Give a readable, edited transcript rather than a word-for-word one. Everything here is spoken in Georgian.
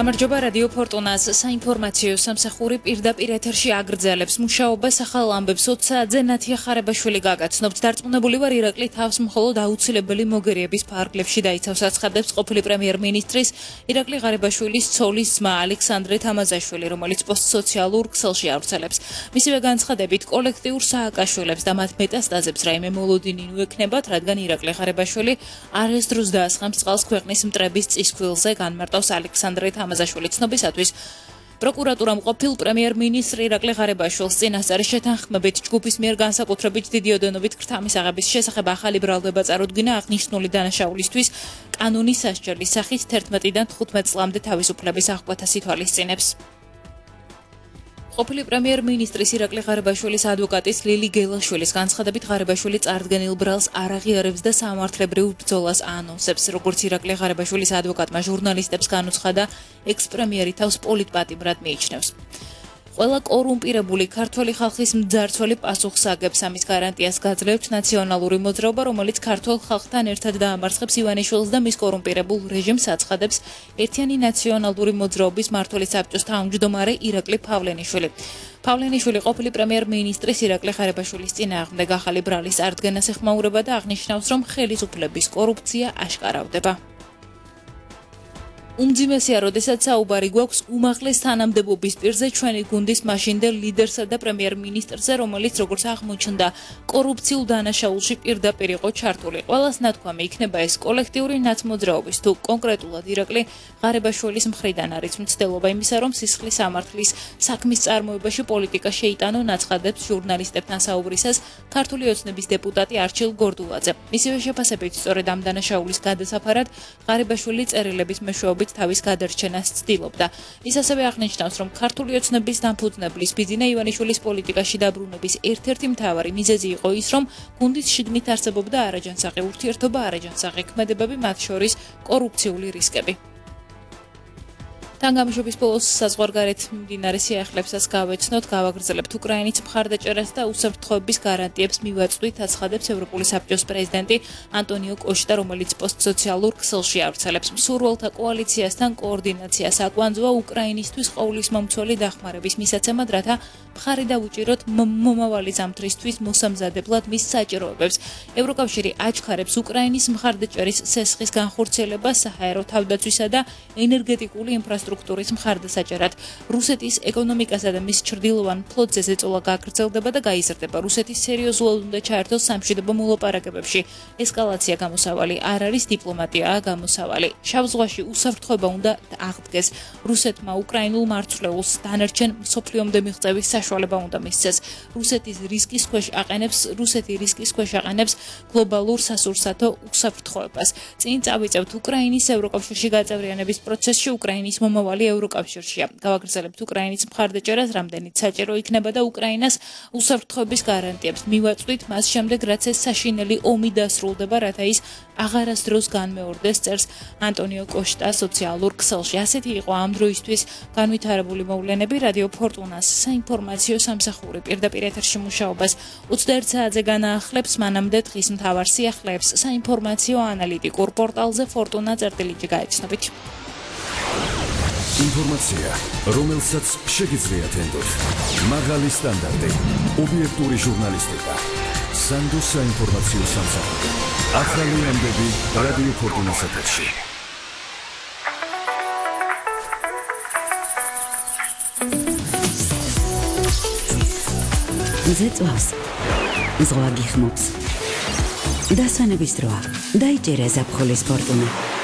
გამარჯობა რადიო ფორტუნას საინფორმაციო სამსახური პირდაპირ ეთერში აგრძელებს მუშაობას ახალ ამბებს 20 საათზე ნათია ხარებაშვილი გაგაცნობთ დარწმუნებული ვარ ირაკლი თავს მხოლოდ აუცილებელი მოგერიების ფარგლებში დაიცავს აცხადებს ყოფილი პრემიერ-მინისტრის ირაკლი ღარებაშვილის ცოლის ძმა ალექსანდრე თამაზაშვილი რომელიც პოსტსოციალურ ქსელში ავრცელებს მისივე განცხადებით კოლექტიურ სააკაშვილებს და მათ მეტასტაზებს რაიმე მოლოდინი უექნებათ რადგან ირაკლი ღარებაშვილი არასდროს დაასხამს წყალს ქვეყნის მტრების წისქვილზე განმარტავს ალექსანდრე თამაზაშვილი ცნობისათვის პროკურატურამ ყოფილ პრემიერ-მინისტრი ირაკლი ღარებაშვილს წინასწარი შეთანხმებით ჯგუფის მიერ განსაკუთრებით დიდი ოდენობით ქრთამის აღების შესახებ ახალი ბრალდება წარუდგინა აღნიშნული დანაშაულისთვის კანონის სასჯელის სახით 11-დან 15 წლამდე თავისუფლების აღკვეთას ითვალისწინებს. ყოფილი პრემიერ-მინისტრის ირაკლი ღარებაშვილის ადვოკატის ლილი გელაშვილის განცხადებით ღარებაშვილი წარდგენილ ბრალს არ აღიარებს და სამართლებრივ ბრძოლას ანონსებს. როგორც ირაკლი ღარებაშვილის ადვოკატმა ჟურნალისტებს განუცხადა, ექს-პრემიერი თავს პოლიტპატიმრად მიიჩნევს. ყველა კორუმპირებული ქართველი ხალხის მძარცველი პასუხს აგებს ამის გარანტიას გაძლევთ ნაციონალური მოძრაობა, რომელიც ქართველ ხალხთან ერთად დაამარცხებს ივანიშვილს და მის კორუმპირებულ რეჟიმს აცხადებს ერთიანი ნაციონალური მოძრაობის მმართველი საბჭოს თავმჯდომარე ირაკლი ფავლენიშვილი. ფავლენიშვილი ყოფილი პრემიერ-მინისტრის ირაკლი ღარებაშვილის წინააღმდეგ ახალი ბრალის წარდგენას ეხმაურება და აღნიშნავს, რომ ხელისუფლების კორუფცია აშკარავდება. უმძიმესია, როდესაც საუბარი გვაქვს უმაღლეს თანამდებობის პირზე ჩვენი გუნდის მაშინდელ ლიდერსა და პრემიერ-მინისტრზე, რომელიც როგორც აღმოჩნდა, კორუფციულ დანაშაულში პირდაპირ იყო ჩართული. ყველას ნათქვამი იქნება ეს კოლექტიური ნაცმოძრაობის თუ კონკრეტულად ირაკლი ღარებაშვილის მხრიდან არის მცდელობა იმისა, რომ სისხლის სამართლის საქმის წარმოებაში პოლიტიკა შეიტანონ აცხადებს ჟურნალისტებთან საუბრისას ქართული ოცნების დეპუტატი არჩილ გორდულაძე. მისივე შეფასებით სწორედ ამ დანაშაულის გადასაფარად ღარებაშვილი წერილების მეშვეობით თავის გადარჩენას ცდილობდა. ის ასევე აღნიშნავს, რომ ქართული ოცნების დამფუძნებლის ბიძინა ივანიშვილის პოლიტიკაში დაბრუნების ერთ-ერთი მთავარი მიზეზი იყო ის, რომ გუნდის შიგნით არსებობდა არაჯანსაღი ურთიერთობა, არაჯანსაღი ქმედებები, მათ შორის კორუფციული რისკები. თან გამშვების ბოლოს საზღვარგარეთ მიმდინარე სიახლეებსაც გავეცნოთ, გავაგრძელებთ უკრაინის მხარდაჭერას და უსაფრთხოების გარანტიებს მივაწვდით, აცხადებს ევროპული საბჭოს პრეზიდენტი ანტონიო კოშტა, რომელიც პოსტსოციალურ ქსელში ავრცელებს. მსურველთა კოალიციასთან კოორდინაციას აკვანძვა უკრაინისთვის ყოვლის მომცველი დახმარების მისაცემად, რათა მხარი დაუჭიროთ მომავალი ზამთრისთვის მოსამზადებლად მის საჭიროებებს. ევროკავშირი აჩქარებს უკრაინის მხარდაჭერის სესხის განხორციელებას საჰაერო თავდაცვისა და ენერგეტიკული ინფრასტრუქტურის მხარდასაჭერად. რუსეთის ეკონომიკასა და მის ჩრდილოვან ფლოტზე ზეწოლა გაგრძელდება და გაიზრდება. რუსეთის სერიოზულად უნდა ჩაერთოს სამშვიდობო მოლაპარაკებებში. ესკალაცია გამოსავალი არ არის, დიპლომატიაა გამოსავალი. შავ ზღვაში უსაფრთხოება უნდა აღდგეს. რუსეთმა უკრაინულ მარცვლეულს დანარჩენ მსოფლიომდე მიღწევის საშუალება უნდა მისცეს. რუსეთი რისკის ქვეშ აყენებს გლობალურ სასურსათო უსაფრთხოებას. წინ წავიწევთ უკრაინის ევროკავშირში გაწევრიანების პროცესში უკრაინის მომავალი ევროკავშირშია. გავაგრძელებთ უკრაინის მხარდაჭერას, რამდენიც საჭირო იქნება და უკრაინას უსაფრთხოების გარანტიებს მივაწვდით მას შემდეგ, რაც ეს საშინელი ომი დასრულდება, რათა ის აღარასდროს განმეორდეს, წერს ანტონიო კოშტა სოციალურ ქსელში. ასეთი იყო ამ დროისთვის განვითარებული მოვლენები. რადიო ფორტუნას საინფორმაციო სამსახური პირდაპირ ეთერში მუშაობას 21 საათზე განაახლებს, მანამდე დღის მთავარ სიახლეებს საინფორმაციო ანალიტიკურ პორტალზე fortuna.lg გაეცნობით. ინფორმაცია, რომელსაც შეგიძლიათ ენდოთ. მაღალი სტანდარტი, ობიექტური ჟურნალისტიკა. სანდოს საინფორმაციო სამსახური. ახალი ამბები რადიო ფორტუნას ეთერში. ზეწვავს, ზღვა გიხმობს. დასვენების დროა, დაიჭერე ზაფხულის ფორტუნა.